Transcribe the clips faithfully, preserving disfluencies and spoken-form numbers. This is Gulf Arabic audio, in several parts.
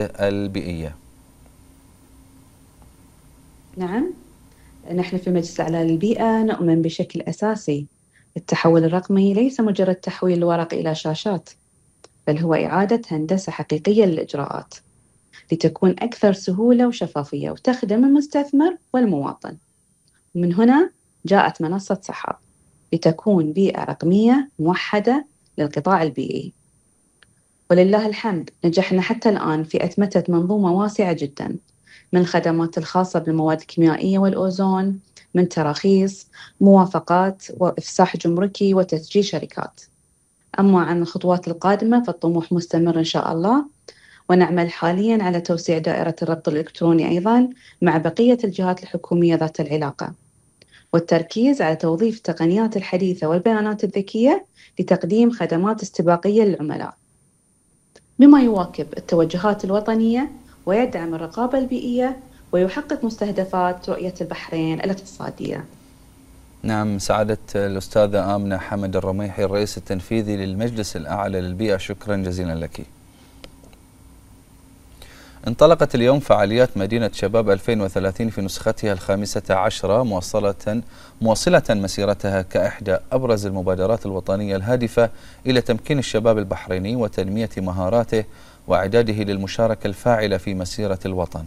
البيئية؟ نعم، نحن في مجلس الأعلى للبيئة نؤمن بشكل أساسي التحول الرقمي ليس مجرد تحويل الورق إلى شاشات، بل هو إعادة هندسة حقيقية للإجراءات لتكون أكثر سهولة وشفافية وتخدم المستثمر والمواطن. ومن هنا جاءت منصة سحاب لتكون بيئة رقمية موحدة للقطاع البيئي. ولله الحمد نجحنا حتى الآن في أتمتة منظومة واسعة جداً، من الخدمات الخاصة بالمواد الكيميائية والأوزون، من تراخيص، موافقات وإفساح جمركي وتسجيل شركات. أما عن الخطوات القادمة فالطموح مستمر إن شاء الله، ونعمل حالياً على توسيع دائرة الربط الإلكتروني أيضاً مع بقية الجهات الحكومية ذات العلاقة، والتركيز على توظيف التقنيات الحديثة والبيانات الذكية لتقديم خدمات استباقية للعملاء، بما يواكب التوجهات الوطنية ويدعم الرقابة البيئية ويحقق مستهدفات رؤية البحرين الاقتصادية. نعم، سعادة الأستاذة آمنة حمد الرميحي الرئيس التنفيذي للمجلس الأعلى للبيئة، شكرا جزيلا لك. انطلقت اليوم فعاليات مدينة شباب ألفين وثلاثين في نسختها الخامسة عشرة، موصلة موصلة مسيرتها كإحدى أبرز المبادرات الوطنية الهادفة إلى تمكين الشباب البحريني وتنمية مهاراته وإعداده للمشاركة الفاعلة في مسيرة الوطن.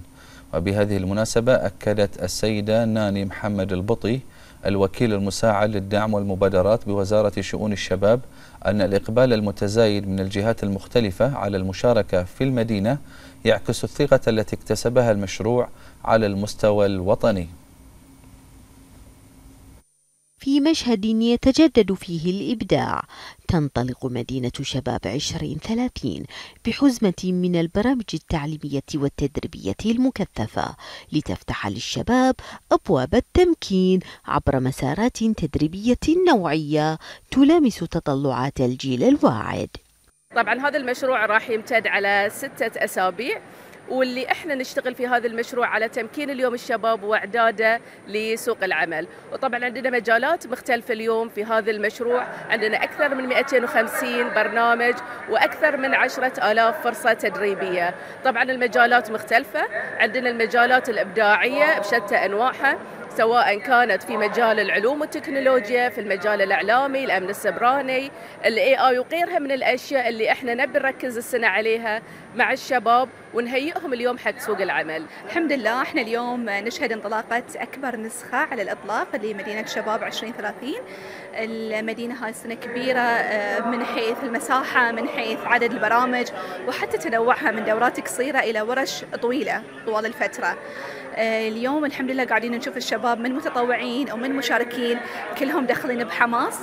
وبهذه المناسبة أكدت السيدة ناني محمد البطي الوكيل المساعد للدعم والمبادرات بوزارة شؤون الشباب أن الإقبال المتزايد من الجهات المختلفة على المشاركة في المدينة يعكس الثقة التي اكتسبها المشروع على المستوى الوطني. في مشهد يتجدد فيه الإبداع، تنطلق مدينة شباب عشرين ثلاثين بحزمة من البرامج التعليمية والتدريبية المكثفة لتفتح للشباب أبواب التمكين عبر مسارات تدريبية نوعية تلامس تطلعات الجيل الواعد. طبعا هذا المشروع راح يمتد على ستة أسابيع، واللي احنا نشتغل في هذا المشروع على تمكين اليوم الشباب واعداده لسوق العمل. وطبعا عندنا مجالات مختلفه اليوم في هذا المشروع، عندنا اكثر من مئتين وخمسين برنامج واكثر من عشرة آلاف فرصه تدريبيه. طبعا المجالات مختلفه، عندنا المجالات الابداعيه بشتى انواعها، سواء كانت في مجال العلوم والتكنولوجيا، في المجال الإعلامي، الأمن السبراني، الاي اي وغيرها من الأشياء اللي احنا نبي نركز السنة عليها مع الشباب ونهيئهم اليوم حق سوق العمل. الحمد لله احنا اليوم نشهد انطلاقة أكبر نسخة على الإطلاق لمدينة شباب عشرين ثلاثين. المدينة هاي السنة كبيرة من حيث المساحة، من حيث عدد البرامج، وحتى تنوعها من دورات قصيرة إلى ورش طويلة طوال الفترة. اليوم الحمد لله قاعدين نشوف الشباب من متطوعين ومن مشاركين كلهم داخلين بحماس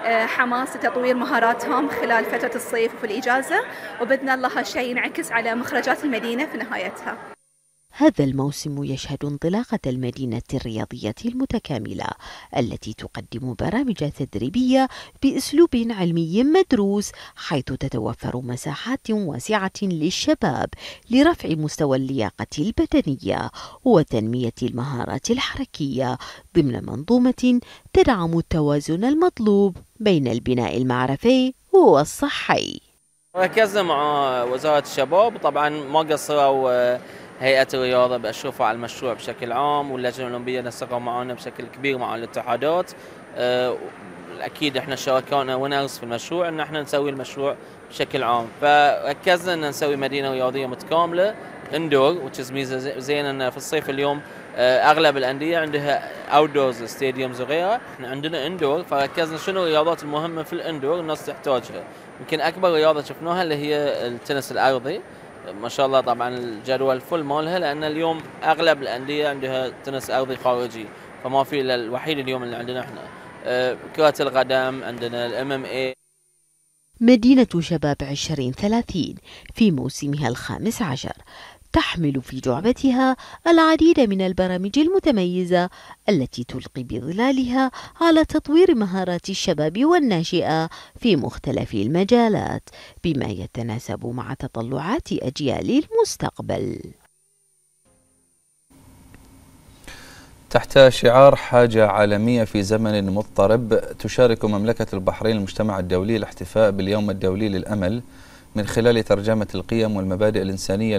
حماس لتطوير مهاراتهم خلال فترة الصيف وفي الإجازة، وبإذن الله هالشيء ينعكس على مخرجات المدينة في نهايتها. هذا الموسم يشهد انطلاقة المدينة الرياضية المتكاملة التي تقدم برامج تدريبية بأسلوب علمي مدروس، حيث تتوفر مساحات واسعة للشباب لرفع مستوى اللياقة البدنية وتنمية المهارات الحركية ضمن منظومة تدعم التوازن المطلوب بين البناء المعرفي والصحي. ركزنا مع وزارة الشباب، طبعا ما قصروا هيئة الرياضة بأشرفها على المشروع بشكل عام، واللجنة الأولمبية نسقوا معنا بشكل كبير مع الاتحادات. أكيد إحنا شاركنا ونرس في المشروع إن إحنا نسوي المشروع بشكل عام، فركزنا إن نسوي مدينة رياضية متكاملة اندور، وتش ميزة زين إن في الصيف اليوم أغلب الأندية عندها اوتدورز ستاديومز وغيرها، إحنا عندنا اندور، فركزنا شنو الرياضات المهمة في الاندور الناس تحتاجها. يمكن أكبر رياضة شفناها اللي هي التنس الأرضي، ما شاء الله طبعا الجدول فل مالها، لأن اليوم أغلب الأندية عندها تنس أرضي خارجي، فما في إلا الوحيد اليوم اللي عندنا إحنا. كرة القدم عندنا الام ام اي. مدينة شباب عشرين ثلاثين في موسمها الخامس عشر تحمل في جعبتها العديد من البرامج المتميزة التي تلقي بظلالها على تطوير مهارات الشباب والناشئة في مختلف المجالات، بما يتناسب مع تطلعات أجيال المستقبل. تحت شعار حاجة عالمية في زمن مضطرب، تشارك مملكة البحرين المجتمع الدولي الاحتفاء باليوم الدولي للأمل من خلال ترجمة القيم والمبادئ الإنسانية